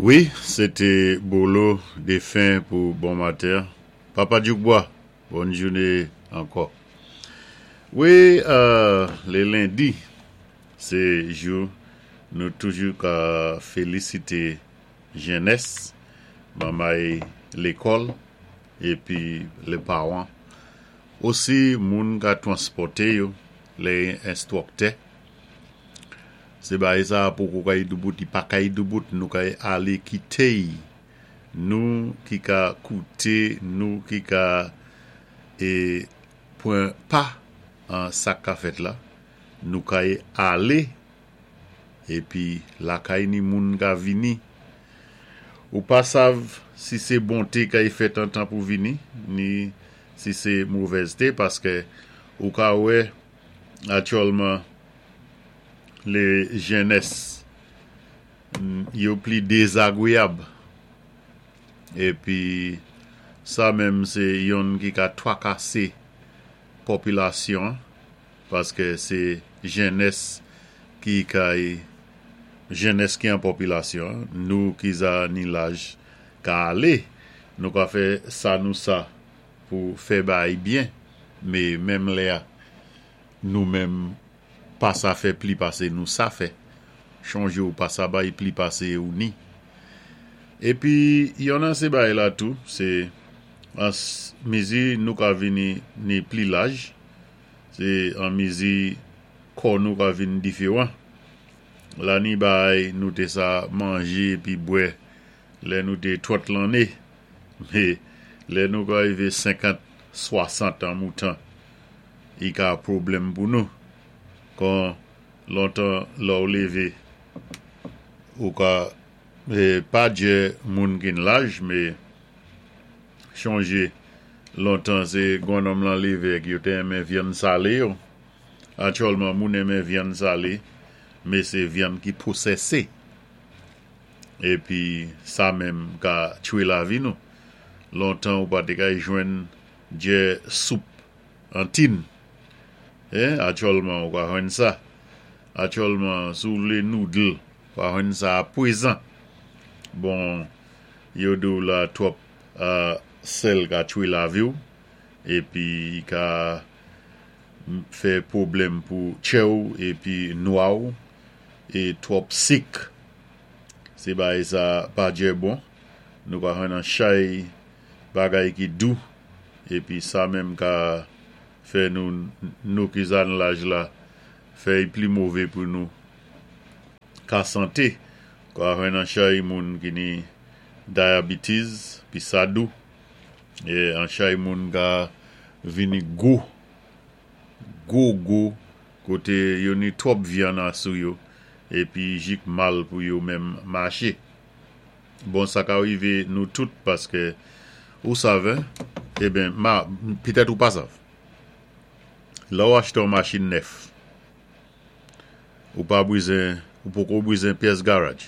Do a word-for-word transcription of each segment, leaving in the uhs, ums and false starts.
Wi, sé té Bolo Défin pou bon maten. Papa Djoukbois, bòn jouné ankò. Wi, euh, lé lendi, sé jou nou toujou ka félisité jènès, manmay lékòl, épi lé pawan. Osi moun ka twanspòté yo, lé enstwiktè. Sé bagay sa poko kay doubout, i pa kay doubout, nou kay alé kité nou ki ka kouté, nou ki ka é pwan pa an sa ka fèt la, nou kay alé épi lakay ni moun ka vini. Ou pa sav si sé bonté kay fèt an tan pou vini, ni si sé movèzté, paské ou ka wè aktyèlman lé jènès yo pli dézagwéyab. Épi sa menm sé yonn ki ka twakasé popilasyon paské sé jènès ki kay jènès ki an popilasyon, nou ki za ni laj ka alé, nou ka fè sa nou sa pou fè bagay byen, mé menm lè a nou menm pa sa fè pli pasé nou sa fè. Chonjé ou pa sa bay pli pasé ou ni. Épi yonn an sé bagay la tou, sé an mizi nou ka vini ni pli laj, sé an mizi kò nou ka vin diféwan. La ni bagay nou té sa manjé épi bwè lè nou té twant lanné, mé lè nou ka rivé senkant, swasant an moutan, i ka pwoblèm pou nou. Kon lontan lè ou lévé, ou ka é, pa djè moun ki n laj, mé chonjé lontan sé gwan-nonm lan lévé yo té renmen vyann salé yo. Aktyèlman moun renmen vyann salé, mé sé vyann ki pwosésé. Épi sa menm ka tchwé lavi nou. Lontan ou pa té kay jwenn djè soup an tin. Eh, aktyèlman ou ka jwenn sa. Aktyèlman si ou vlé noodle, ou ka jwenn sa pwézan. Bon, yo di ou la twòp euh, sèl ka tchwé lavi ou, épi i ka fè pwoblèm pou tchè ou, épi nwa ou, é twòp sik. Sé bagay sa pa djè bon. Nou ka jwenn an chay bagay ki dou, épi sa menm ka fè nou, nou ki za nan laj la, fè i pli mové pou nou. Ka santé, ka jwenn an chay moun ki ni diabetes, pi sa dou. É an chay moun ka vini gwo, gwo gwo, koté yo ni twòp vyann asou yo, épi jik mal pou yo menm maché. Bon, sa ka rivé nou tout paské ou sav, eben, ma, pitèt ou pa sav. Lè ou achté yon machin nèf, ou pa bwizen, ou poko bwizen pyès garaj.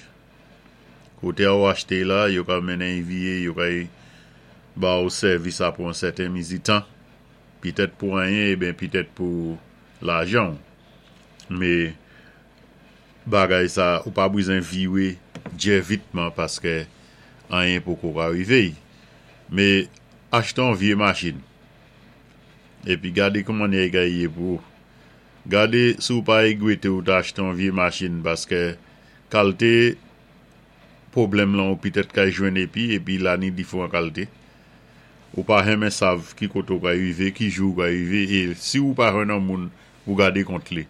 Koté a ou achté la, yo ka mennen i viyé, yo ka ba ou sèvis a pou yon sèten mizi tan. Pitèt pou anyen, eben pitèt pou lajan. Mé bagay sa, ou pa bwizen viwé djè vitman paské anyen poko ka rivé. Mé achté yon vyé machin. Épi gadé kouman i ka yé pou ou. Gadé si ou pa égwété ou ta achté yon vyé machin paské kalté pwoblèm lan ou pitèt kay jwenn épi, épi la ni diféwan kalté. Ou pa renmen sav ki koté ou ka rivé, ki jou ou ka rivé, é si ou pa jwenn an moun pou gadé kont li.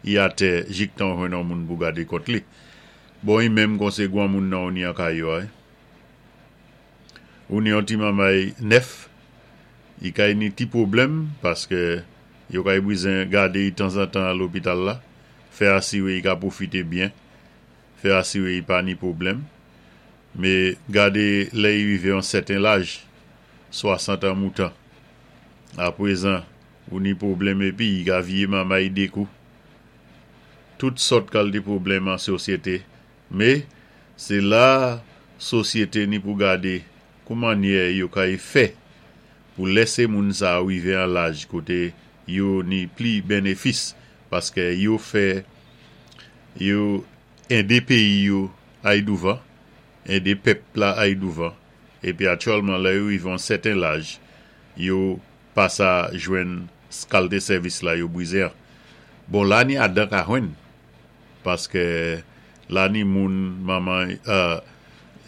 I atè jik tan jwenn an moun pou gadé kont li. Bon, i menm kon sé gwan moun nan ou ni an kay yo ay. Ou ni an ti manmay nèf, i kay ni ti pwoblèm paské yo kay bwizen gadé i tanzantan a lopital la, fè asiwé i ka pwofité byen, fè asiwé i pa ni pwoblèm. Mé gadé lè i rivé an sèten laj, swasant an moutan. Apwézan, ou ni pwoblèm épi i ka viyé manmay dékou. Tout sòt kalté pwoblèm an sosyété. Mé sé la sosyété ni pou gadé koumannyè yo kay fè pou lèsé moun sa rivé an laj koté yo ni pli bénéfis paské yo fè yo édé péyi yo ay douvan. Édé pèp la ay douvan. Épi aktyèlman lè yo wivé an sèten laj, yo pa sa jwenn kalité sèvis la yo bizwen. Bon, la ni adan ka jwenn, paské la ni moun manman, euh,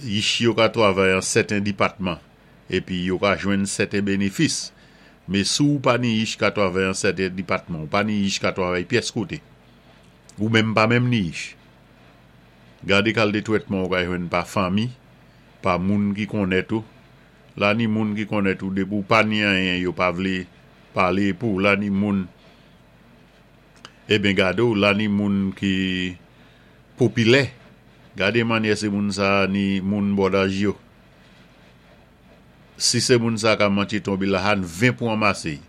yich yo ka twavay an sèten dipatman, épi yo ka jwenn sèten bénéfis. Mé si ou pa ni yich ka twavay an sèten dipatman, ou pa ni yich ka twavay pyès koté, ou menm pa menm ni yich. Gadé kalité twètman ou ka jwenn pa fanmi, pa moun ki konnèt ou. La ni moun ki konnèt ou, dépi ou pa ni anyen, yo pa vlé palé pou. La ni moun, eben gadé ou, la ni moun ki popilè. Gadé mannyè sé moun sa ni moun bò daj yo. Si sé moun sa ka mantyé tonbé la han ven pou anmasé.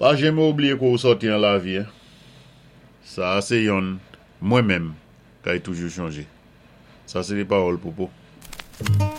Pa janmé oubliyé koté ou sòti an lavi. Sa sé yonn mwen menm kay toujou chonjé. Sa sé dé pawòl Popo.